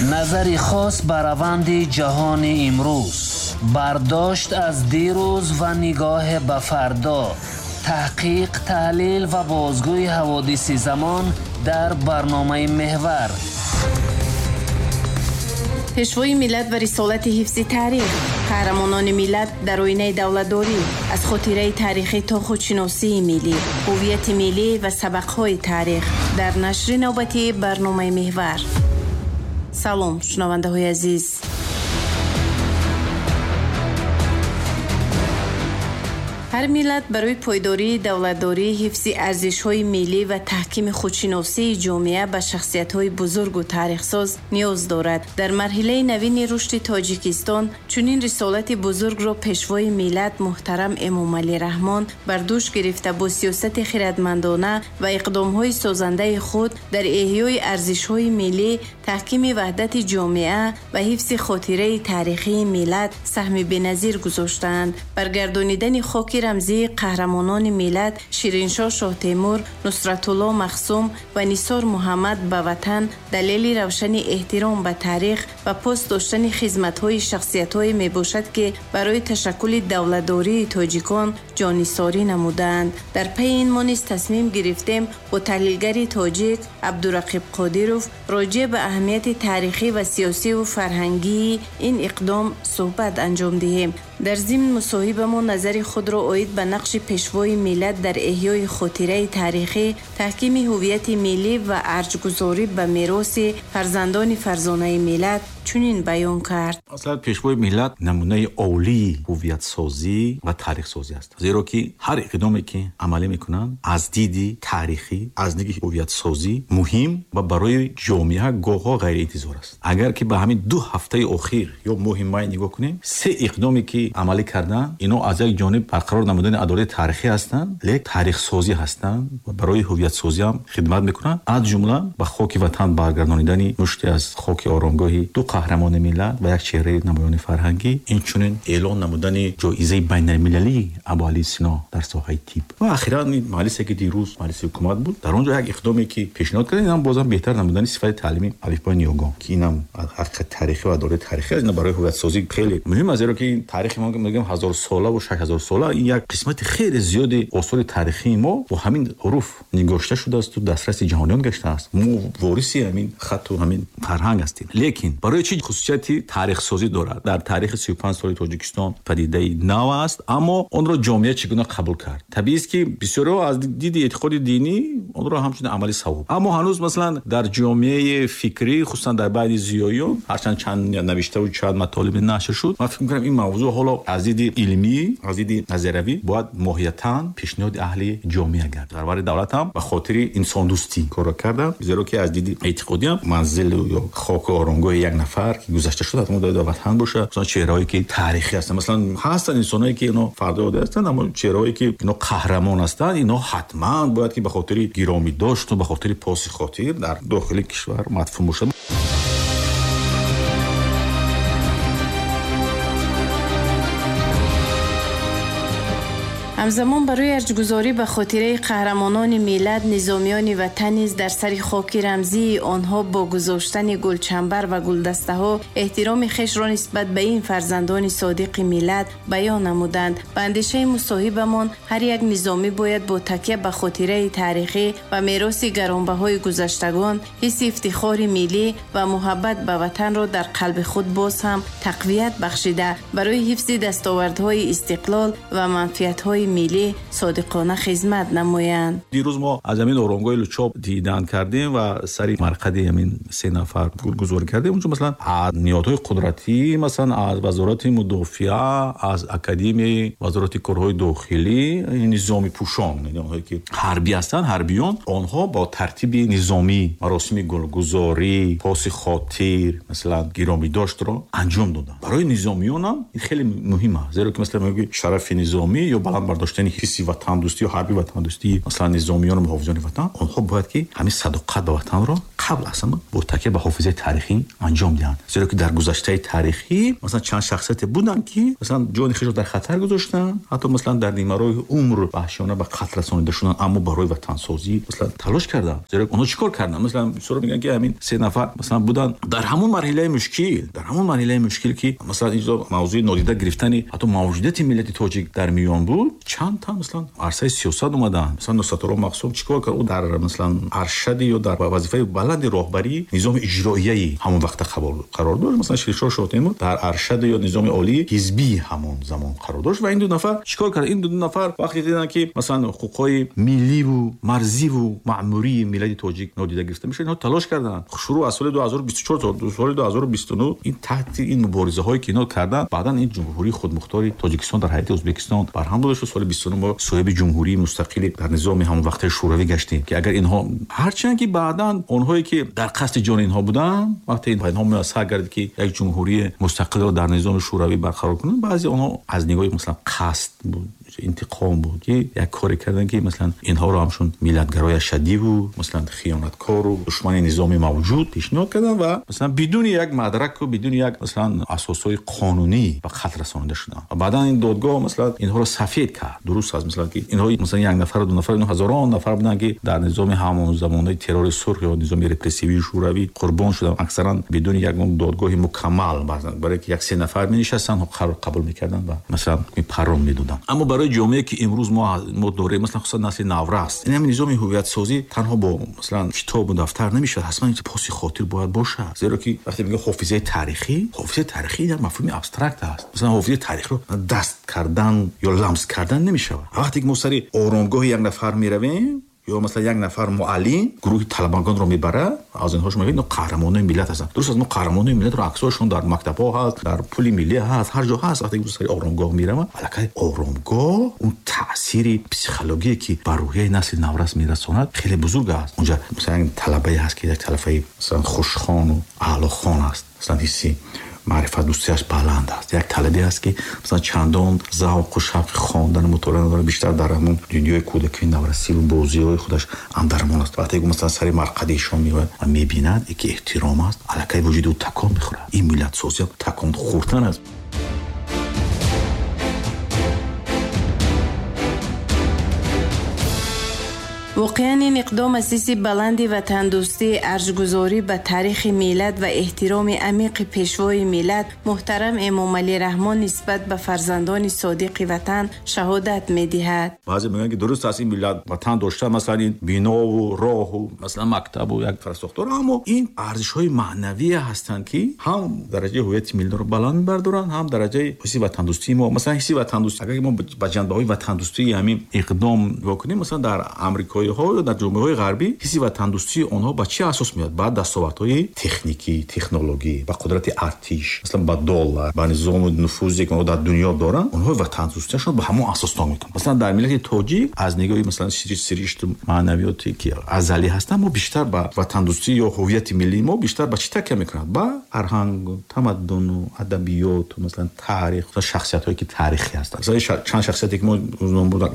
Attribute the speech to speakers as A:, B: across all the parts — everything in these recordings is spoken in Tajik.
A: Назари хос ба раванди ҷаҳони имрӯз, бардошт аз дирӯз ва нигоҳ ба фардо, таҳқиқ, таҳлил ва бозгӯи ҳаводиси замон дар барномаи Меҳвар.
B: Пешвои миллат ва рисолати ҳифзи таърих, қаҳрамонони миллат дар оинаи давлатдорӣ, аз хотираи таърихӣ то худшиносии миллӣ, ҳуввияти миллӣ ва сабақҳои таърих дар нашри навбатии барномаи Меҳвар. Салом, шунавандаҳои азиз. Ҳар миллат барои пойдории давлатдорӣ, ҳифзи арзишҳои миллӣ ва таҳкими худшиносии ҷомеа ба шахсиятҳои бузургу таърихсоз ниёз дорад. Дар марҳилаи навини рушди Тоҷикистон чунин рисолати бузургро пешвои миллат муҳтарам Эмомалӣ Раҳмон бар дӯш гирифта бо сиёсати хиратмандона ва иқдомҳои созандаи худ дар эҳёи арзишҳои миллӣ, таҳкими ваҳдати ҷомеа ва ҳифзи хотираи таърихии миллат саҳми беназир гузоштаанд. Баргардонидани хоки рамзии қаҳрамонони миллат Шириншоҳ Шоҳтемур, Нусратулло Махсум ва Нисор Муҳаммад ба ватан далели равшани эҳтиром ба таърих ва пос доштани хизматҳои шахсиятҳое мебошад, ки барои ташаккули давлатдории тоҷикон ҷонисорӣ намудаанд. Дар пайи ин мо низ тасмим гирифтем бо таҳлилгари тоҷик Абдурақиб Қодиров роҷеъ ба аҳамияти таърихӣ ва сиёсиву фарҳангии ин иқдом суҳбат анҷом диҳем. Дар зимн мусоҳибамо назари худро оид ба нақши пешвои миллат дар эҳёи хотираи таърихӣ, таҳкими ҳуввияти миллӣ ва арҷгузорӣ ба мероси фарзандони фарзонаи миллат чунин баён кард.
C: Аслан пешвои миллат намунаи олии ҳуввиятсозӣ ва таърихсозӣ аст, зеро ки ҳар иқдоме ки амалӣ мекунанд аз диди таърихӣ, аз диди ҳуввиятсозӣ муҳим ва барои ҷомеа гоҳҳо ғайриинтизор аст. Агар ки ба ҳамин 2 ҳафтаи охир ё моҳи май нигоҳ кунем, 3 иқдоме ки амалӣ карданд, ино аз як ҷониб барқарор намудани адолати таърихӣ ҳастанд, лек таърихсозӣ ҳастанд ва барои ҳуввиятсозӣ ҳам хидмат мекунанд. Аз ҷумла ба хоки ватан баргардонидани мушти аз хоки оромгоҳи 2 қаҳрамони миллат ва як чеҳраи намоёни фарҳангӣ, инчунин эълон намудани ҷоизаи байналмилалии Абуалӣ Сино дар соҳаи тиб ва охиран маҷлисе ки дирӯз маҷлиси ҳукумат буд, дар он ҷо як иқдоме ки пешниҳод карданд, инам бозам беҳтар намудани сифати таълими алифбои ниёгон, ки инам ҳақиқати таърихӣ ва адолати таърихӣ аст. Ин барои ҳуввиятсозӣ хеле муҳим аст, зеро ки ин таърихи мо мегӯем 1000 сола ва 6000 сола, ин як қисмати хеле зиёди осори таърихии мо бо ҳамин ҳуруф нигошта шудааст ва дастраси ҷаҳониён гаштааст. Мо вориси ҳамин хатту ҳамин фарҳанг ҳастем. Лекин барои чӣ хусусияти таърихсозӣ дорад? Дар таърихи 35 соли Тоҷикистон падидаи нав аст, аммо онро ҷомеа чӣ гуна қабул кард? Табиист ки бисёриҳо аз диди эътиқоди динӣ онро ҳамчун амали савоб, аммо ҳанӯз масалан дар ҷомеаи фикрӣ, хусусан дар байни зиёиён, ҳарчанд чанд навиштаву чанд матолиби нашр шуд, ман фикр мекунам ин мавзӯъ ҳоло аз диди илмӣ, аз диди назариявӣ бояд моҳиятан пешниҳоди аҳли ҷомеа гардад. Сарвари давлат ҳам ба хотири инсондӯстӣ корро карданд, зеро ки аз диди эътиқодӣ ҳам манзил ё хоку оромгоҳи як нафар ки гузашта шуда, ҳатман бояд дар ватан бошад. Масалан чеҳраҳое ки таърихӣ ҳастанд, масалан ҳастанд инсонҳое ки ино фарди оддӣ ҳастанд, аммо чеҳраҳое ки ино қаҳрамон ҳастанд, ино ҳатман бояд ки ба хотири гиромӣ дошт ва ба хотири поси хотир дар дохили кишвар мадфун бошад.
B: Ҳамзамон барои арҷгузорӣ ба хотираи қаҳрамонони миллат, низомиёни ватан низ дар сари хоки рамзии онҳо бо гузоштани гулчамбар ва гулдастаҳо эҳтироми хешро нисбат ба ин фарзандони содиқи миллат баён намуданд. Ба андешаи мусоҳибамон ҳар як низомӣ бояд бо такя ба хотираи таърихӣ ва мероси гаронбаҳои гузаштагон ҳисси ифтихори миллӣ ва муҳаббат ба ватанро дар қалби худ боз ҳам тақвият бахшида, барои ҳифзи дастовардҳои истиқлол ва манфиатҳои миллӣ содиқона хизмат намоянд.
C: Дирӯз мо аз ҳамин оромгоҳи Лучоб дидан кардем ва сари марқади ҳамин 3 нафар гулгузорӣ кардем. Унҷо масалан аз ниҳодҳои қудратӣ, масалан аз вазорати мудофиа, аз академияи вазорати корҳои дохилӣ, низоми пӯшон, яъне онҳое ки ҳарбӣ ҳастанд, ҳарбиён, онҳо бо тартиби низомӣ маросими гулгузорӣ, поси хотир, масалан гиромидоштро анҷом доданд. Барои низомиён ҳам ин хеле муҳим аст, зеро ки масалан мегӯяд шарафи низомӣ ё баланд бардоштани ҳисси ватандӯстӣ ё ҳарби ватандӯстии масалан низомиёну муҳофизони ватан, онҳо бояд ки ҳамин садоқат ба ватанро қабл аз ҳама бо такя ба ҳофизаи таърихӣ анҷом диҳанд. Зеро ки дар гузаштаи таърихӣ масалан чанд шахсияте буданд, ки масалан ҷони худро дар хатар гузоштанд, ҳатто масалан дар нимароҳи умр ваҳшиёна ба қатл расонида шуданд, аммо барои ватансозӣ масалан талош карданд. Зеро онҳо чӣ кор карданд? Масалан бисёр мегӯянд, ки ҳамин се нафар масалан буданд дар ҳамон марҳилаи мушкил, дар ҳамон марҳилаи мушкил, ки масалан инҷо мавзӯи нодида гирифтани ҳатто мавҷудияти миллати тоҷик дар миён буд, чанд та масалан арсаи сиёсат омаданд. Масалан Нусратулло Махсум чӣ кор кард? Ӯ дар масалан аршади ё дар вазифаи баланди роҳбарии низоми иҷроияи ҳамон вақта қарор дошт. Масалан Шириншоҳ Шоҳтемур дар аршади ё низоми олии ҳизбии ҳамон замон қарор дошт. Ва ин ду нафар чӣ кор кард? Ин ду нафар вақте диданд, ки масалан ҳуқуқҳои милливу марзиву маъмурии миллати тоҷик нодида гирифта мешавад, инҳо талош карданд. Шурӯъ аз соли 2024 то соли 2029 ин таҳти ин муборизаҳое, ки инҳо карданд, баъдан ин ҷумҳурии худмухтори Тоҷикистон дар ҳайати Ӯзбекистон барҳам дода шуд. Соли 29 мо соҳиби ҷумҳурии мустақили дар низоми ҳамон вақтаи Шӯравӣ гаштем, ки агар инҳо ҳарчанд ки баъдан онҳое ки дар қасди ҷони инҳо буданд, вақте инҳо муяссар гардид, ки як ҷумҳурии мустақилро дар низоми Шӯравӣ барқарор кунанд, баъзе онҳо аз нигоҳи масалан қасд буд, интиқом буд, ки як коре карданд, ки масалан инҳоро ҳамчун миллатгарои шадиву масалан хиёнаткору душмани низоми мавҷуд пешниҳод карданд ва масалан бидуни як мадраку бидуни як масалан асосҳои қонунӣ ба қатл расонида шуданд. Ва баъдан ин додгоҳ масалан инҳоро сафед кард. Дуруст аст, масалан ки инҳо масалан як нафар, ду нафар, инҳо ҳазорон нафар буданд, ки дар низоми ҳамон замонаи террори сурх ё низоми репрессивии Шӯравӣ қурбон шуданд, аксаран бидуни ягон додгоҳи мукаммал, барои ки як се нафар менишастанд, қарор қабул мекарданд ва масалан паррон медоданд. Аммо барои ҷомеае, ки имрӯз мо дорем, масалан хусусан насли наврас, ин ҳамин низоми ҳувиятсозӣ танҳо бо масалан китобу дафтар намешавад, ҳатман поси хотир бояд бошад. Зеро ки вақте мегӯем ҳофизаи таърихӣ, ҳофизаи таърихӣ як мафҳуми абстракт аст. Масалан ҳофизаи таърихиро даст кардан ё ламс кардан намешавад. Вақте ки мо сари оромгоҳи як нафар меравем ё масалан як нафар муаллим гурӯҳи талабагонро мебарад, аз инҳо шумо мебинед, қаҳрамонони миллат ҳастанд. Дуруст аст, мо қаҳрамонони миллатро аксҳояшон дар мактабҳо ҳаст, дар пули миллӣ ҳаст, ҳар ҷо ҳаст. Вақте ки сари оромгоҳ мераванд, аллакай оромгоҳ он таъсири психологие, ки ба рӯҳияи насли наврас мерасонад, хеле бузург аст. Онҷа масалан талабае ҳаст, ки як талабаи масалан хушхону аълохон аст, масалан ҳисси маърифатдӯстиаш баланд аст. Як талабе аст, ки масалан чандон завқу шавқи хондану мутолиа надорад, бештар дар ҳамон дунёи кӯдакии наврасиву бозиҳои худаш андармон аст. Вақте масалан сари марқадишон меояд ва мебинад, ки эҳтиром аст, аллакай вуҷуди ӯ такон мехӯрад. Ин миллатсозӣ такон хӯрдан аст.
B: Воқеан, ин иқдом аз ҳисси баланди ватандӯстӣ, арҷгузорӣ ба таърихи миллат ва эҳтироми амиқи пешвои миллат муҳтарам Эмомалӣ Раҳмон нисбат ба фарзандони содиқи ватан шаҳодат медиҳад.
C: Баъзе мегӯянд, ки дуруст аст, ин миллат ватан дошта, масалан ин бинову роҳу масалан мактабу як инфраструктура, аммо ин арзишҳои маънавие ҳастанд, ки ҳам дараҷаи ҳувияти миллиро баланд мебардоранд, ҳам дараҷаи ҳисси ватандӯстии мо. Масалан ҳисси ватандӯстӣ, агар мо ба ҷанбаҳои ватандӯстии ҳамин иқдом нигоҳ кунем, масалан дар амрикоиҳо ё дар ҷомеаҳои ғарбӣ ҳисси ватандӯстии онҳо ба чӣ асос меояд? Ба дастовардҳои техникӣ, технологӣ, ба қудрати артиш, масалан ба доллар, ба низому нуфузе, ки онҳо дар дунё доранд. Онҳо ватандӯстиашон ба ҳамон асос мекунанд. Масалан дар миллати тоҷик аз нигоҳи масалан сиришту маънавиёте, ки азалӣ ҳастанд, мо бештар ба ватандӯстӣ ё ҳувияти миллии мо бештар ба чӣ такя мекунад? Ба фарҳангу тамаддуну адабиёту масалан таърих, шахсиятҳое, ки таърихӣ ҳастанд. Масалан чанд шахсияте, ки мо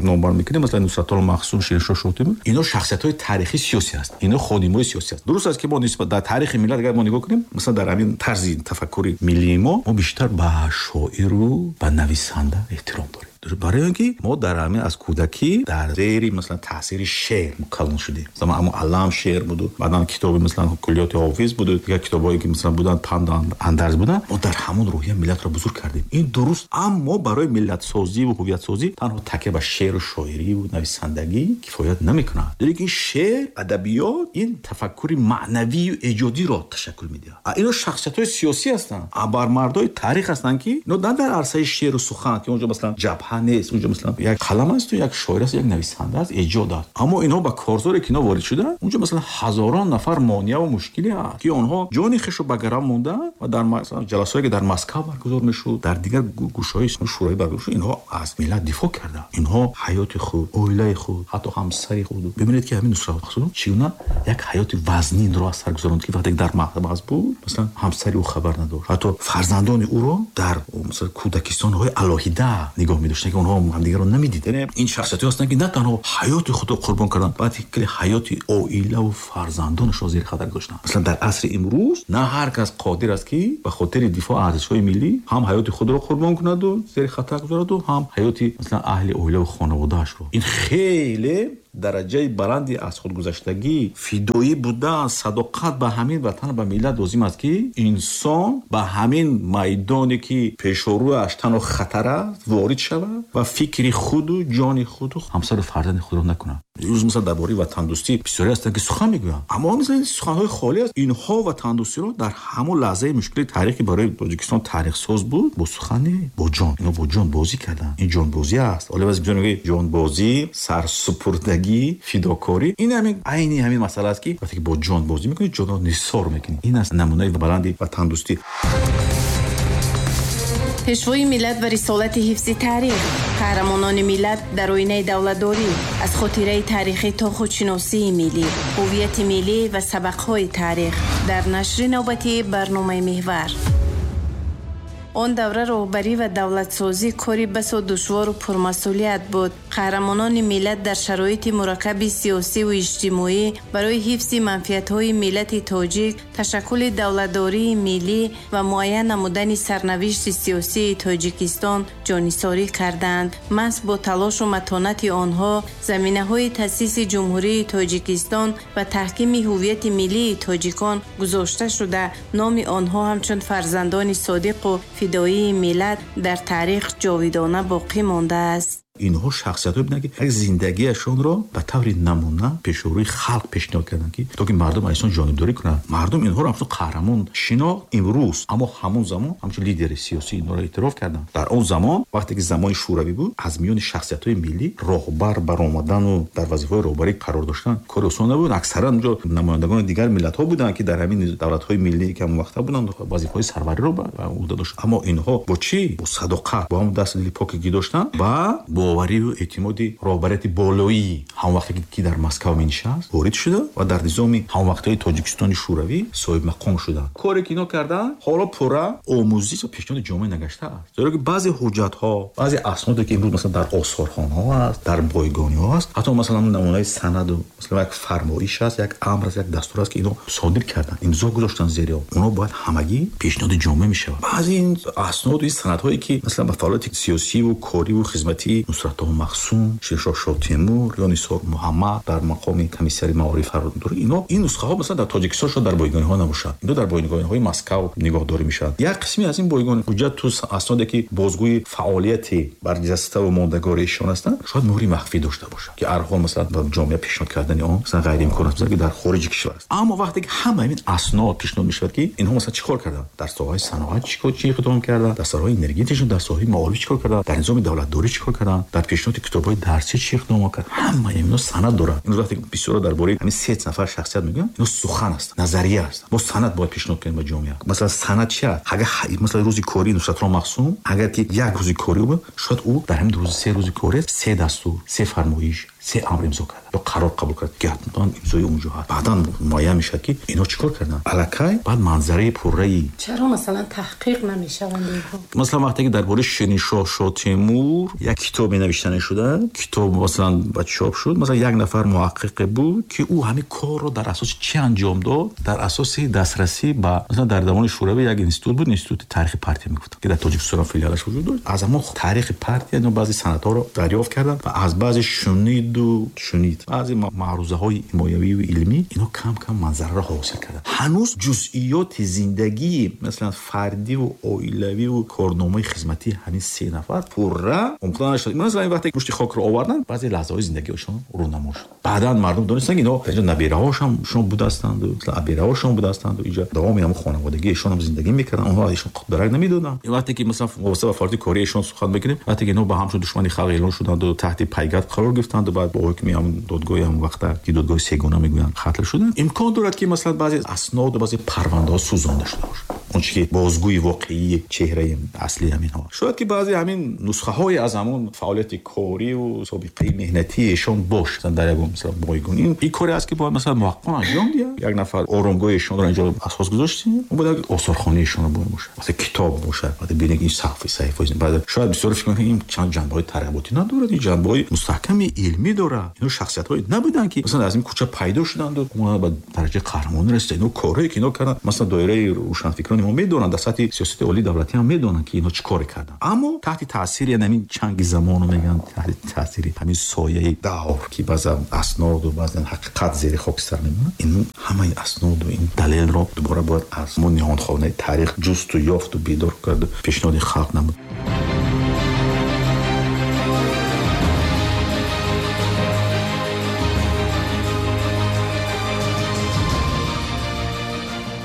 C: номбар мекунем, масалан Нусратулло Махсум, Шириншоҳ Шоҳтемур, инҳо шахсиятҳои таърихии сиёсӣ ҳастанд, инҳо ходимҳои сиёсӣ ҳастанд. Дуруст аст, ки мо нисбат дар таърихи миллат агар мо нигоҳ кунем, масалан дар ҳамин тарзи тафаккури миллии мо бештар ба шоиру ба нависанда эҳтиром дорем, барои он ки мо дар ҳамин аз кӯдакӣ дар зери масалан таъсири шеър калон шудем. Масалан ҳамон алам шеър буду, баъдан китоби масалан куллиёти ҳофиз буду, дигар китобҳое, ки масалан буданд, панду андарз буданд, мо дар ҳамон рӯҳия миллатро бузург кардем. Ин дуруст, аммо барои миллатсозӣ ва ҳувиятсозӣ танҳо такя ба шеъру шоирию нависандагӣ кифоят намекунад. Лекин шеър, адабиёт ин тафаккури маънавию эҷодиро ташаккул медиҳад. Ино шахсиятҳои сиёсӣ ҳастанд, абармардҳои таърих ҳастанд, ки ино на дар арсаи шеъру сухан, ки онҷо масалан ҷабҳа нест, онҷо масалан як қалам аст, як шоир аст, як нависанда аст, эҷод аст. Аммо инҳо ба корзоре, ки инҳо ворид шуданд, онҷо масалан ҳазорон нафар монеа ва мушкиле ҳаст, ки онҳо ҷони хешро ба гарав монданд ва дар масалан ҷаласҳое, ки дар Москва баргузор мешуд, дар дигар гӯшаҳои Шӯравӣ баргузор шуд, инҳо аз миллат дифоъ карданд. Инҳо ҳаёти худ, оилаи худ, ҳатто ҳамсари худ. Бибинед, ки ҳамин Нусрат Махсум чӣ гуна як ҳаёти вазнинро аз сар гузаронд, ки вақте дар маҳбас буд, масалан ҳамсари ӯ хабар надошт, ҳатто фарзандони ӯро дар масалан кӯдакистонҳои алоҳида нигоҳ медоштанд. Гарчанде ки онҳо ҳамдигарро намедиданд. Яъне ин шахсиятҳое ҳастанд, ки на танҳо ҳаёти худро қурбон карданд, балки ҳаёти оила ва фарзандонашро зери хатар гузоштанд. Масалан, дар асри имрӯз на ҳар кас қодир аст, ки ба хотири дифоъ аз арзишҳои миллӣ ҳам ҳаёти худро қурбон кунад ва зери хатар гузорад ва ҳам ҳаёти масалан аҳли оила ва хонаводаашро. Ин хеле дараҷаи баланди аз худгузаштагӣ, фидоӣ будан, садоқат ба ҳамин ватан, ба миллат лозим аст, ки инсон ба ҳамин майдоне, ки пешорӯяш танҳо хатар аст, ворид шавад ва фикри худу ҷони худу ҳамсару фарзанди худро накунад. Имрӯз масалан дар бораи ватандӯстӣ бисёре ҳастанд, ки сухан мегӯянд, аммо масалан суханҳои холӣ аст. Инҳо ватандӯстиро дар ҳамон лаҳзаи мушкили таърихӣ барои Тоҷикистон таърихсоз буд, бо сухан, бо ҷон. Инҳо бо ҷон бозӣ карданд. Ин ҷонбозӣ аст. Ҳоло баъзе бисёр мегӯянд ҷонбозӣ, сарсупурдагӣ, фидокорӣ. Ин ҳамин айни ҳамин масъала аст, ки вақте ки бо ҷон бозӣ мекунӣ, ҷонро нисор мекунӣ. Ин аст намунаи баланди ватандӯстӣ.
B: Пешвои миллат ва рисолати ҳифзи таърих, қаҳрамонони миллат дар оинаи давлатдорӣ, аз хотираи таърихӣ то худшиносии миллӣ, ҳуввияти миллӣ ва сабақҳои таърих дар нашри навбатии барномаи Меҳвар. Он давра роҳбарӣ ва давлатсозӣ кори басо душвору пурмасъулият буд. Қаҳрамонони миллат дар шароити мураккаби сиёсиву иҷтимоӣ барои ҳифзи манфиатҳои миллати тоҷик, ташаккули давлатдории миллӣ ва муайян намудани сарнавишти сиёсии Тоҷикистон ҷонисорӣ карданд. Маҳз бо талошу матонати онҳо заминаҳои таъсиси Ҷумҳурии Тоҷикистон ва таҳкими ҳуввияти миллии тоҷикон гузошта шуда, номи онҳо ҳамчун фарзандони содиқу фидоии миллат дар таърих ҷовидона боқӣ мондааст.
C: Инҳо шахсиятҳое буданд, ки як зиндагиашонро ба таври намуна пешорӯи халқ пешниҳод карданд, ки то ки мардум аз инсон ҷонибдорӣ кунанд. Мардум инҳоро ҳамчун қаҳрамон шинохт имрӯз, аммо ҳамон замон ҳамчун лидери сиёсӣ инҳоро эътироф карданд. Дар он замон, вақте ки замони шӯравӣ буд, аз миёни шахсиятҳои миллӣ роҳбар баромадану дар вазифаҳои роҳбарӣ қарор доштан кори осон набуд. Аксаран онҷо намояндагони дигар миллатҳо буданд, ки дар ҳамин давлатҳои миллӣ, ки ҳамон вақта буданд, вазифаҳои сарвариро ба уҳда доштанд. Аммо инҳо бо чӣ? Бо садоқат, бо ҳамон дасти дили поке ки доштанд, ба бовариву эътимоди роҳбарияти болоии ҳамон вақте ки дар Москва менишаст ворид шуда ва дар низоми ҳамон вақтҳои Тоҷикистони шӯравӣ соҳибмақом шуданд. Коре ки инҳо карданд, ҳоло пурра омӯзиш ва пешниҳоди ҷомеа нагаштааст, зеро ки баъзе ҳуҷҷатҳо, баъзе асноде, ки имрӯз масалан дар осорхонаҳо аст, дар бойгониҳо аст, ҳатто масалан намунаи санаду масалан як фармоиш аст, як амр аст, як дастур аст, ки инҳо содир карданд, имзо гузоштанд зери он, онҳо бояд ҳамагӣ пешниҳоди ҷомеа мешавад. Баъзе ин асноду ин санадҳое, ки масалан ба фаъолияти сиёсиву кориву хизматии Нусратулло Махсум, Ширшоҳ Шотемур ё Нисор Муҳаммад дар мақоми комиссари маориф қарор дорад, инҳо ин нусхаҳо масалан дар Тоҷикистон шояд дар бойгониҳо набошад, инҳо дар бойгониҳои Москав нигоҳдорӣ мешавад. Як қисме аз ин бойгони ҳуҷҷату асноде, ки бозгӯи фаъолияти барҷаставу мондагори эшон ҳастанд, шояд муҳри махфӣ дошта бошад, ки ҳарҳол масалан ба ҷомеа пешниҳод кардани он масалан ғайриимкон аст, ки дар хориҷи кишвар аст. Аммо вақте ки ҳама ин аснод пешниҳод мешавад, ки инҳо масалан чӣ кор карданд, дар соҳаи саноат чӣ иқдом карданд, дар соҳаи энергетика, дар соҳаи маориф чӣ кор карданд, дар низоми давлатдорӣ чӣ кор карданд, дар пешниҳоди китобҳои дарсӣ чӣ иқдом карданд, ҳама инҳо санад доранд. Имрӯз вақте бисёро дар бораи ҳамин се нафар шахсият мегӯянд, инҳо сухан ҳастанд, назария ҳастанд. Мо санад бояд пешниҳод кунем ба ҷомеа. Масалан, санад чи аст? Агар масалан рӯзи кории Нусратулло Махсум, агар ки як рӯзи корӣ буд, шояд ӯ дар ҳамин рӯзи се рӯзи корӣ се дастур, се фармоиш, се амр имзо кард ё қарор қабул кард, ки ҳатман имзои онҷо ҳаст. Баъдан муайян мешавад, ки инҳо чӣ кор карданд. Аллакай баъд манзараи пурраи
D: Чаро масалан таҳқиқ намешаванд инҳо?
C: Масалан, вақте ки дар бораи Шириншоҳ Шотемур як китобе навишта нашуда, китоб масалан ба чоп шуд, масалан як нафар муҳаққиқе буд, ки ӯ ҳамин корро дар асоси чӣ анҷом дод? Дар асоси дастрасӣ ба масалан дар давони шӯравӣ як институт буд, институти таърихи партия мегуфтанд, ки дар Тоҷикистон филиалаш вуҷуд дошт. Аз ҳамон таърихи партия инҳо баъзе санадҳоро дарёфт карданд ва аз баъзе шуниду шунид, баъзе маърузаҳои ҳимоявию илмӣ инҳо кам кам манзараро ҳосил карданд. Ҳанӯз ҷузъиёти зиндагии масалан фардиву оилавиву корномаи хизматии ҳамин се нафар пурра омӯхта нашуд. Масалан, вақте мушти хокро оварданд, баъзе лаҳзаҳои зиндагиашон рӯнамо шуд. Баъдан мардум донистанд, ки инҳо инҷо набираҳошам шон будастанду масалан абираҳошон будастанду инҷо давоми ҳамон хонаводагии эшон ҳам зиндагӣ мекарданд, онҳо аз эшон дарак намедоданд. Вақте ки масалан вобаста ба фаъолияти кории эшон сухан мекунем, вақте ки инҳо ба ҳамчун душмани халқ эълон шуданду таҳти пайгард қарор гирифтанду баъд бо ҳукми ҳамон додгоҳи ҳамон вақта, ки додгоҳи сегона мегӯянд, қатл шуданд, имкон дорад, ки масалан баъзе асноду баъзе парвандаҳо сӯзонда шуда бошад. Он чи ки бозгӯи воқеии чеҳраи аслии ҳаминҳо. Шояд ки баъзе ҳамин нусхаҳое аз ҳамон фаъолияти корию собиқаи меҳнатии эшон бош, масалан дар ягон масалан бойгон. Ин коре аст ки бояд масалан муҳаққиқон анҷом диҳанд. Як нафар оромгоҳи эшонро инҷо асос гузоштем, бояд як осорхонаи эшонро бояд бошад, масалан китоб бошад, баъд бинед ин саҳифаҳо. Баъд шояд бисёр фикр мекунанд ин чанд ҷанбаҳои тарғиботӣ надорад, ин ҷанбаҳои мустаҳками илмӣ дорад. Ино шахсиятҳое набуданд ки масалан аз ин кӯча пайдо шуданд ва ба дараҷаи қаҳрамонӣ расиданд. Ино корҳое ки ино карданд, масалан доираи рӯшанфикрони мо медонанд, дар сатҳи сиёсати олии давлатӣ ҳам медонанд ки ино чӣ коре карданд. Аммо таҳти таъсири ҳамин чанги замону мегӯянд, таҳти таъсири ҳамин сояи давр ки баъзан асноду баъзан ҳақиқат зери хокистар мемонад, ин ҳамаи асноду ин далелро дубора бояд аз мо ниҳонхонаи таърих ҷусту ёфту бедор карду пешниҳоди халқ намуд.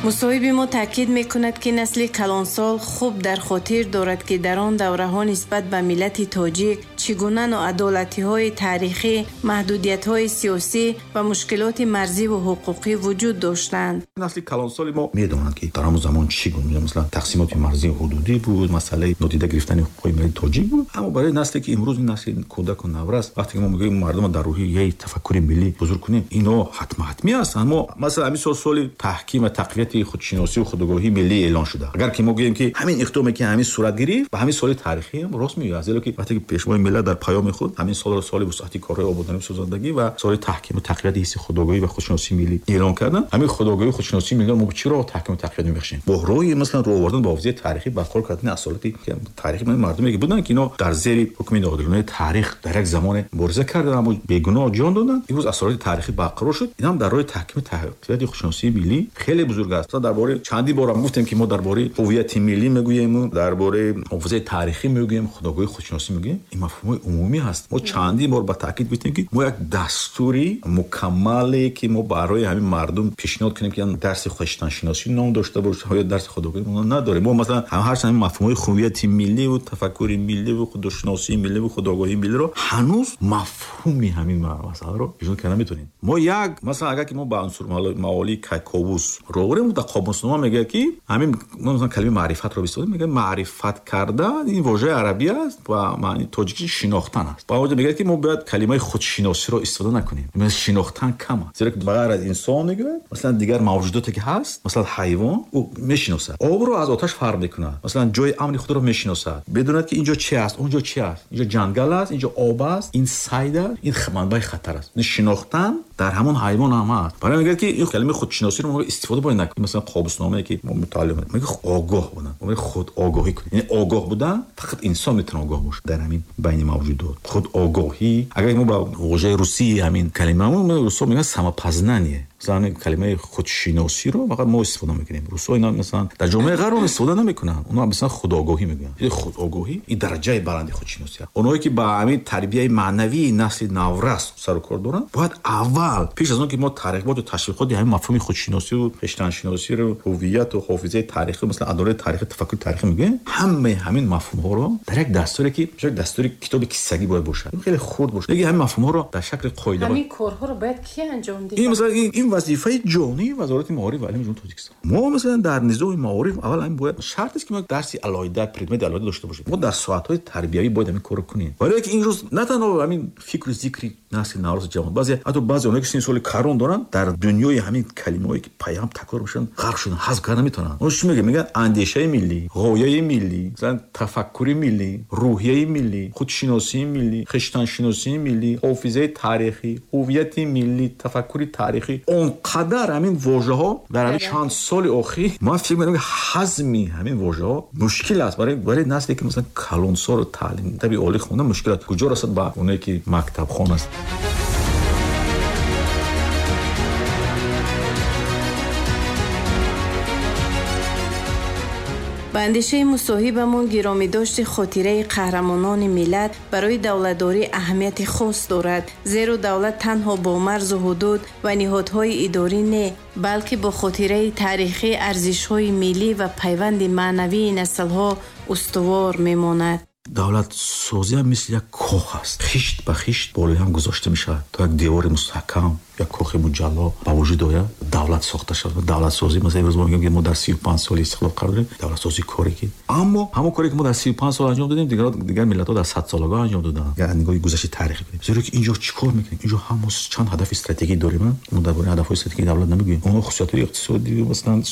B: Мусоҳиби мо таъкид мекунад, ки насли калонсол хуб дар хотир дорад, ки дар он давраҳо нисбат ба миллати тоҷик чӣ гуна ноадолатиҳои таърихӣ, маҳдудиятҳои сиёсӣ ва мушкилоти марзиву ҳуқуқӣ вуҷуд доштанд.
C: Насли калонсоли мо медонанд, ки дар ҳамон замон чӣ гуна масалан тақсимоти марзии ҳудудӣ буд, масъалаи нодида гирифтани ҳуқуқҳои миллати тоҷик буд. Аммо барои насле ки имрӯз насли кӯдаку наврас, вақте ки мо мегӯем мардумро дар рӯҳияи тафаккури миллӣ бузург кунем, ино ҳатмӣ аст. Аммо масалан ҳамин сол соли таҳким ва тақвияти худшиносию худогоҳии миллӣ эълон шуда. Агар ки мо гӯем ки ҳамин иқдоме ки ҳамин сурат гирифт, ба ҳамин соли таърихӣ ҳам рост меояд, зеро ки вақте ки пешвои миллат дар паёми худ ҳамин солро соли вусъати корҳои ободонию созандагӣ ва соли таҳким ва тақвияти ҳисси худогоҳӣ ва худшиносии миллӣ эълон карданд, ҳамин худогоҳию худшиносии миллиро мо чӣ роҳ таҳким ва тақвият мебахшем? Бо роҳи масалан рӯ овардан ба ҳофизаи таърихӣ, барқарор кардани асолати таърихи мардуме ки буданд, ки ино дар зери ҳукми ноодилонаи таърих дар як замоне мубориза карданд, аммо бегуноҳ ҷон доданд. Имрӯз асолати таърихӣ барқарор шуд. Ин ҳам дар роҳи таҳким ва тақвияти худшиносии миллӣ хеле бузург аст. Масалан дар бораи чандин бор ҳам гуфтем ки мо дар бораи ҳувияти миллӣ мегӯем, дар бораи ҳофизаи таърихӣ мегӯем, худогоҳии худшиносӣ мегӯем. Ин мафҳумҳои умумӣ ҳаст. Мо чандин бор ба таъкид гуфтем ки мо як дастури мукаммале ки мо барои ҳамин мардум пешниҳод кунем ки дарси хештаншиносӣ ном дошта бошад ё дарси худогоҳӣ мо надорем. Мо масалан ҳарчанд ҳамин мафҳумҳои ҳувияти миллӣ ва тафаккури миллӣ ва худшиносии миллӣ ва худогоҳии миллиро ҳанӯз мафҳуми ҳамин масъаларо пешниҳод карда наметавонем. Мо як масалан агар ки мо ба унсурмаолии Кайковус ро орем, дар қомуснома мегӯяд ки ҳамин мо масалан калимаи маърифатро бистодем, мегӯяд маърифат кардан ин вожаи арабӣ аст ва маъни тоҷикӣ шинохтан аст. Ба он ҷо мегӯяд ки мо бояд калимаи худшиносиро истифода накунем. Шинохтан кам аст, зеро ки ба ғайр аз инсон мегӯяд масалан дигар мавҷудоте ки ҳаст, масалан ҳайвон ӯ мешиносад, обро аз оташ фарқ мекунад, масалан ҷои амни худро мешиносад, медонад ки инҷо чи аст, онҷо чи аст, инҷо ҷангал аст, инҷо об аст, ин сайд аст, ин манбаи хатар аст. Шинохтан дар ҳамон ҳайвон ҳам ҳаст. Барои мегӯяд ки ин калимаи худшиносиро мо истифода бояд накунем. Масалан қобусномае ки мо мутолиа мекунем мегӯяд огоҳ будан, мо мегӯем худогоҳӣ кунем. Яъне огоҳ будан фақат инсон метавонад огоҳ бошад дар ҳамин байни мавҷудот. Худогоҳӣ агар мо ба вожаи русии ҳамин калимамо русо мегӯянд самопознание. Масалан калимаи худшиносиро фақат мо истифода мекунем. Русо ино масалан дар ҷомеаи ғарб истифода намекунанд. Онҳо масалан худогоҳӣ мегӯянд. Ин худогоҳӣ ин дараҷаи баланди худшиносӣ аст. Онҳое ки ба ҳамин тарбияи маънавии насли наврас сару кор доранд, бояд аввал пеш аз он ки мо тарғиботу ташвиқоти ҳамин мафҳуми худшиносию хештаншиносиро, ҳувияту ҳофизаи таърихӣ, масалан адолати таърихӣ, тафаккури таърихӣ мегӯем, ҳамаи ҳамин мафҳумҳоро дар як дастуре ки як дастури китоби киссагӣ бояд бошад, хеле хурд бошад, лекин ҳамин мафҳумҳоро дар шакли қоида
D: ҳамин корҳоро бояд ки анҷом диҳад?
C: Ин масалан ин вазифаи ҷонии Вазорати маориф ва илми Ҷумҳурии Тоҷикистон. Мо масалан дар низоми маориф аввал ҳамин бояд шарт аст ки мо дарси алоҳида, предмети алоҳида дошта бошем. Мо дар соатҳои тарбиявӣ бояд ҳамин корро кунем. Барои ки имрӯз на танҳо ҳамин фикру зикри насли навраси ҷавон, баъзе ҳатто баъзе онҳое ки синни соли карон доранд дар дунёи ҳамин калимаҳое ки пайҳам такрор мешаванд ғарқ шуданд, ҳазм карда наметавонанд. Онҳо чӣ мегӯянд? Мегӯянд андешаи миллӣ, ғояи миллӣ, масалан тафаккури миллӣ, рӯҳияи миллӣ, худшиносии миллӣ, хештаншиносии миллӣ, ҳофизаи таърихӣ, ҳувияти миллӣ, тафаккури таърихӣ. Он қадар ҳамин вожаҳо дар ҳамин чанд соли охир ман фикр мекунам ки ҳазми ҳамин вожаҳо мушкил аст барои насле ки масалан калонсолу таълим таби олӣ хонда мушкил аст. Куҷо расад ба оное ки мактабхон аст?
B: Ба андешаи мусоҳибамон гиромидошти хотираи қаҳрамонони миллат барои давлатдорӣ аҳамияти хос дорад, зеро давлат танҳо бо марзу ҳудуд ва ниҳодҳои идорӣ не, балки бо хотираи таърихӣ, арзишҳои миллӣ ва пайванди маънавии наслҳо устувор мемонад.
C: Давлатсозӣ ҳам мисли як кох аст, хишт ба хишт болои ҳам гузошта мешавад то як девори мустаҳкам, як кохи муҷалло ба вуҷуд ояд, давлат сохта шавад. Давлатсозӣ, масалан, имрӯз мо мегӯем, ки мо дар 35 соли истиқлол қарор дорем, давлатсозӣ коре ки, аммо ҳамон коре ки мо дар 35 сол анҷом додем, дигар миллатҳо дар 100 солагоҳ анҷом доданд. Агар нигоҳи гузашти таърихӣ кунем, зеро ки инҷо чӣ кор мекунем? Инҷо ҳам мо чанд ҳадафи стратегӣ дорем, мо дар бораи ҳадафҳои стратегии давлат намегӯем, онҳо хусусиятҳои иқтисодӣ, масалан,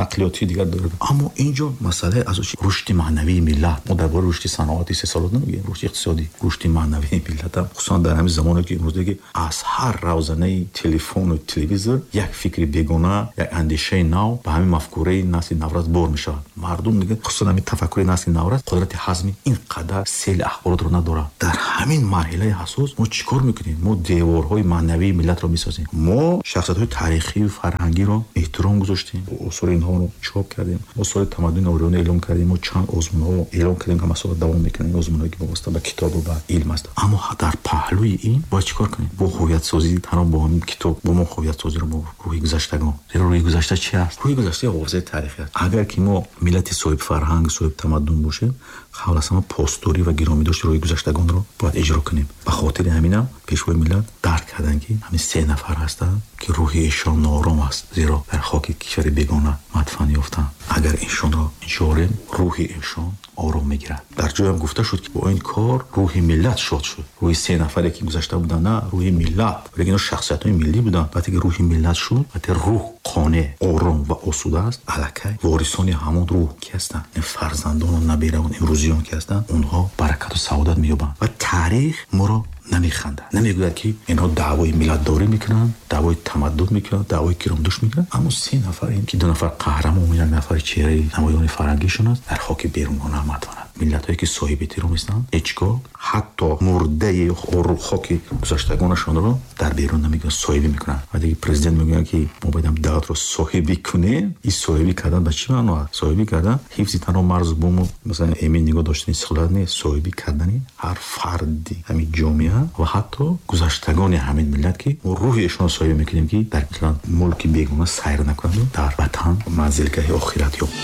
C: нақлиётии дигар дорад. Аммо инҷо масъалаи асосӣ рушди маънавии миллат. Мо дар бораи рушди саноати истеҳсолот намегӯем, рушди иқтисодӣ, рушди маънавии миллат ҳам, хусусан дар ҳамин замоне ки имрӯз ки аз ҳар равзанаи телефону телевизор як фикри бегона, як андешаи нав ба ҳамин мафкураи насли наврас бор мешавад. Мардум дига, хусусан ҳамин тафаккури насли наврас қудрати ҳазми ин қадар сели ахборотро надорад. Дар ҳамин марҳилаи ҳассос мо чӣ кор мекунем? Мо деворҳои маънавии миллатро месозем. Мо шахсиятҳои таърихию фарҳангиро эҳтиром гузоштем, осори инҳоро чоп кардем, осори тамаддуни ориёна эълон кардем, мо чанд озмунҳо эълон кардем, ки масъала давом мекунем, озмунҳое ки вобаста ба китобу ба илм аст. Аммо дар паҳлӯи ин бояд чӣ кор кунем? Бо ҳувиятсозӣ, танҳо бо ҳамин китоб, бо мо ҳувиятсозиро бо рӯҳи гузаштагон. Зеро рӯҳи гузашта чи аст? Рӯҳи гузашта ҳофизаи таърихӣ аст. Агар ки мо миллати соҳибфарҳанг, соҳибтамаддун бошем, қабл аз ҳама посдорӣ ва гиромӣ дошти рӯҳи гузаштагонро бояд иҷро кунем. Ба хотири ҳаминам пешвои миллат дарк карданд, ки ҳамин се нафар ҳастанд, ки рӯҳи эшон ноором аст, зеро дар хоки кишвари бегона мадфан ёфтанд. Агар эшонро ҷорем, рӯҳи эшон ором мегирад. Дар ҷоям гуфта шуд, ки бо ин кор рӯҳи миллат шод шуд. Рӯҳи се нафаре ки гузашта буданд, на рӯҳи миллат, вале инҳо шахсиятҳои миллӣ буданд. Вақте ки рӯҳи миллат шуд, вақте рӯҳ қонеъ, ором ва осуда аст, аллакай ворисони ҳамон рӯҳ ки ҳастанд, ин фарзандону набераон имрӯзиён ки ҳастанд, онҳо баракату саодат меёбанд ва таърих моро намехандад, намегӯяд ки инҳо даъвои миллатдорӣ мекунанд, даъвои тамаддун мекунанд, даъвои киромдӯш мекунанд. Аммо се нафар, ин ки ду нафар қаҳрамон, як нафар чеҳраи намоёни фарҳангишон аст, дар хоки берунгона мадфананд. Миллатҳое ки соҳиби эҳтиром нестанд, ҳеҷгоҳ ҳатто мурдаи хоки гузаштагонашонро дар берун намегӯянд, соҳибӣ мекунанд. Вақте ки президент мегӯяд, ки мо бояд давлатро соҳибӣ кунем, ин соҳибӣ кардан ба чӣ маъно аст? Соҳибӣ кардан ҳифзи танҳо марзу буму, масалан, эмин нигоҳ доштани истиқлолият нест, соҳибӣ кардани ҳар фарди ҳамин ҷомеа ва ҳатто гузаштагони ҳамин миллат, ки мо рӯҳи эшонро соҳиб мекунем, ки дар мулки бегона сайр накунанд, дар ватан манзилгаҳи охират ёбанд.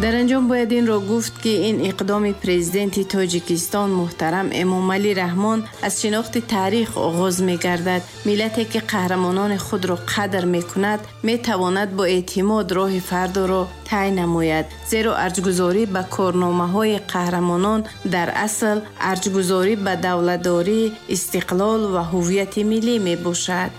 B: Дар анҷом бояд инро гуфт, ки ин иқдоми президенти Тоҷикистон муҳтарам Эмомалӣ Раҳмон аз шинохти таърих оғоз мегардад. Миллате ки қаҳрамонони худро қадр мекунад, метавонад бо эътимод роҳи фардоро тай намояд. Зеро арҷгузорӣ ба корномаҳои қаҳрамонон дар асл арҷгузорӣ ба давлатдорӣ, истиқлол ва ҳувияти миллӣ мебошад.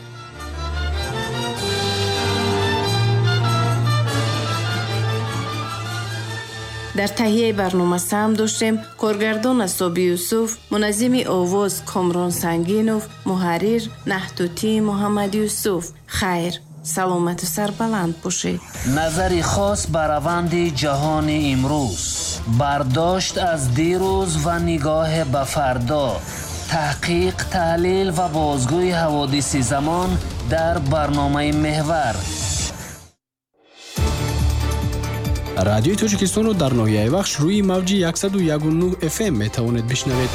B: Дар таҳияи барнома саҳм доштем коргардон Асоби Юсуф, муназзими овоз Комрон Сангинов, муҳаррир Наҳтутӣ Муҳаммад Юсуф. Хайр, саломату сарбаланд бошед.
A: Назари хос ба раванди ҷаҳони имрӯз, бардошт аз дирӯз ва нигоҳ ба фардо, таҳқиқ, таҳлил ва бозгӯи ҳаводиси замон дар барномаи Меҳвар.
E: Радиои Тоҷикистонро дар ноҳияи Вахш рӯи мавҷи 101.9 FM метавонед бишнавед.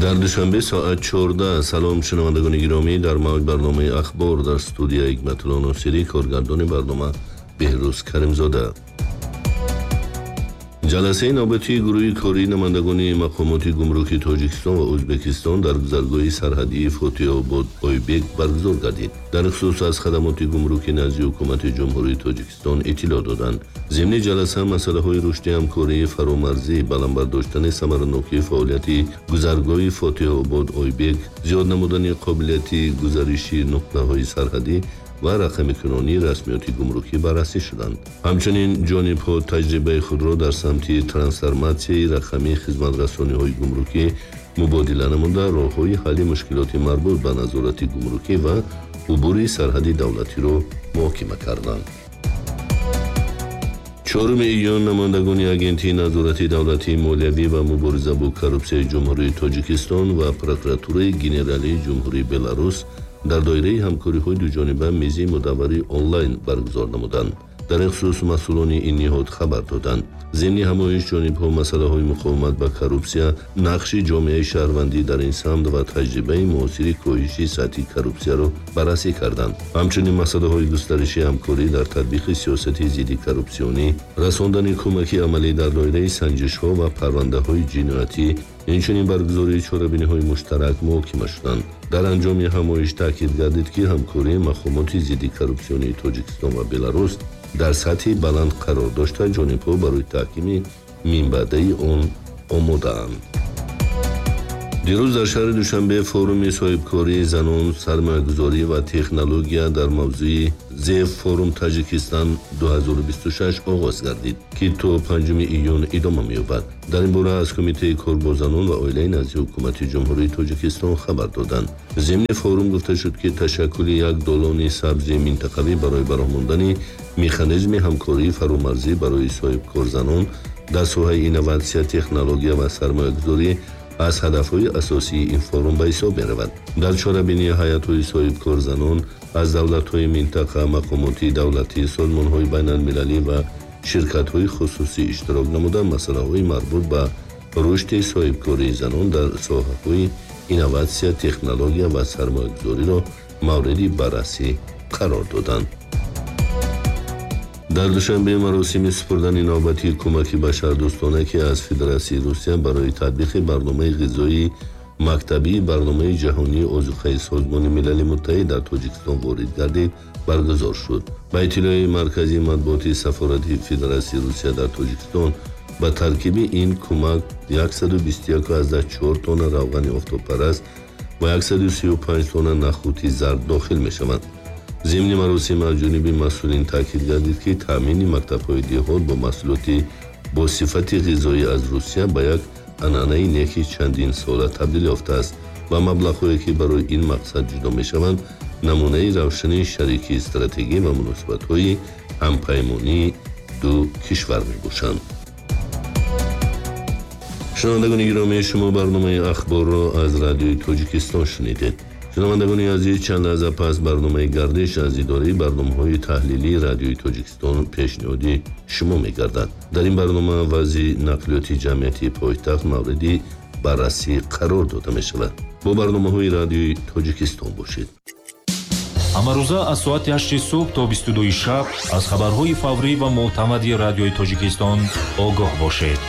F: Дар Душанбе соат 14. Салом шунавандагони гиромӣ, дар мавҷ барномаи Ахбор дар студия Ҳикматулло Носирӣ, коргардони барнома Беҳрӯз Каримзода. Ҷаласаи навбатии гурӯҳи кории намояндагони мақомоти гумруки Тоҷикистон ва Ӯзбекистон дар гузаргоҳи сарҳадии Фотиҳобод Ойбек баргузор гардид. Дар хусус аз хадамоти гумруки назди ҳукумати Ҷумҳурии Тоҷикистон иттилоъ доданд. Зимни ҷаласа масъалаҳои рушди ҳамкории фаромарзӣ, баланд бардоштани самаранокии фаъолияти гузаргоҳи Фотиҳобод Ойбек, зиёд намудани қобилияти гузариши нуқтаҳои сарҳадӣ ва рақамикунонии расмиёти гумрукӣ баррасӣ шуданд. Ҳамчунин ҷонибҳо таҷрибаи худро дар самти трансформатсияи рақамии хизматрасониҳои гумрукӣ мубодила намуда, роҳҳои ҳалли мушкилоти марбут ба назорати гумрукӣ ва убури сарҳади давлатиро муҳокима карданд. 4 июн намояндагони Агентии назорати давлатии молиявӣ ва мубориза бо коррупсияи Ҷумҳурии Тоҷикистон ва Прокуратураи Генералии Ҷумҳурии Беларус дар доираи ҳамкориҳои дуҷониба мизи мудаввари онлайн баргузор намуданд. Дар ин хусус масъулони ин ниҳод хабар доданд. Зимни ҳамоиш ҷонибҳо масъалаҳои муқовимат ба коррупсия, нақши ҷомеаи шаҳрвандӣ дар ин самт ва таҷрибаи муосири коҳиши сатҳи коррупсияро баррасӣ карданд. Ҳамчунин масъалаҳои густариши ҳамкорӣ дар татбиқи сиёсати зидди коррупсионӣ, расондани кӯмаки амалӣ дар доираи санҷишҳо ва парвандаҳои ҷиноятӣ, инчунин баргузории чорабиниҳои муштарак муҳокима шуданд. Дар анҷоми ҳамоиш таъкид гардид, ки ҳамкории мақомоти зидди коррупсионии Тоҷикистон ва Беларус дар сатҳи баланд қарор дошта, ҷонибҳо барои таҳкими минбаъдаи он омодаанд. Дирӯз дар шаҳри Душанбе форуми соҳибкории занон, сармоягузорӣ ва технология дар мавзӯи Зе форум Таҷикистон 2026 оғоз гардид, ки то 5 июн идома меёбад. Дар ин бора аз Кумитаи кор бо занон ва оилаи назди Ҳукумати Ҷумҳурии Тоҷикистон хабар доданд. Зимни форум гуфта шуд, ки ташаккули як долони сабзи минтақавӣ барои бароҳ мондани механизми ҳамкории фаромарзӣ барои соҳибкорзанон дар соҳаи инноватсия, технология ва сармоягузорӣ аз ҳадафҳои асосии ин форум ба ҳисоб меравад. Дар чорабинии ҳайатҳои соҳибкорзанон аз давлатҳои минтақа, мақомоти давлатӣ, созмонҳои байналмилалӣ ва ширкатҳои хусусӣ иштирок намуда, масъалаҳои марбут ба рушди соҳибкории занон дар соҳаҳои инноватсия, технология ва сармоягузориро мавриди баррасӣ қарор доданд. Дар Душанбе маросими супурдани навбатии кӯмаки башардӯстона, ки аз Федератсияи Русия барои татбиқи барномаи ғизоии мактабии барномаи ҷаҳонии озуқаи Созмони Милали Муттаҳид дар Тоҷикистон ворид гардид, баргузор шуд. Ба иттилои Маркази матбуоти Сафорати Федератсияи Русия дар Тоҷикистон, ба таркиби ин кӯмак 121,4 тонна равғани офтобпараст ва 135 тонна нахӯти зард дохил мешаванд. Зимни маросим аз ҷониби масъулин таъкид гардид, ки таъмини мактабҳои деҳот бо маҳсулоти бо сифати ғизоӣ аз Русия ба як анъанаи неки чандин сола табдил ёфтааст ва маблағҳое, ки барои ин мақсад ҷудо мешаванд, намунаи равшани шарики стратегӣ ва муносибатҳои ҳампаймонии ду кишвар мебошанд. Шунавандагони гиромӣ, шумо барномаи ахборро аз Радиои Тоҷикистон шунидед. Шунавандагони азиз, чанд лаҳза пас барномаи гардиш аз идораи барномаҳои таҳлилии Радиои Тоҷикистон пешниҳоди шумо мегардад. Дар ин барнома вазъи нақлиёти ҷамъиятии пойтахт мавриди баррасӣ қарор дода мешавад. Бо барномаҳои Радиои Тоҷикистон бошед.
G: Ҳамарӯза аз соати 8 субҳ то 22 шаб аз хабарҳои фаврӣ ва мӯътамади Радиои Тоҷикистон огоҳ бошед.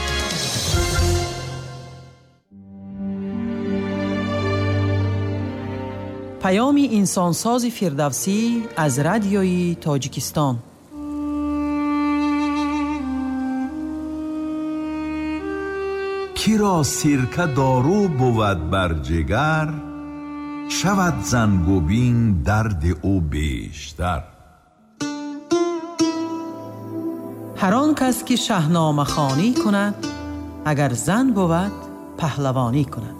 H: Паёми инсонсози Фирдавсӣ аз Радиои Тоҷикистон.
I: Киро сирка дору бувад бар ҷигар, шавад зангубин дарди ӯ бештар.
H: Ҳар он кас ки шаҳномахонӣ кунад, агар зан бувад, паҳлавонӣ кунад.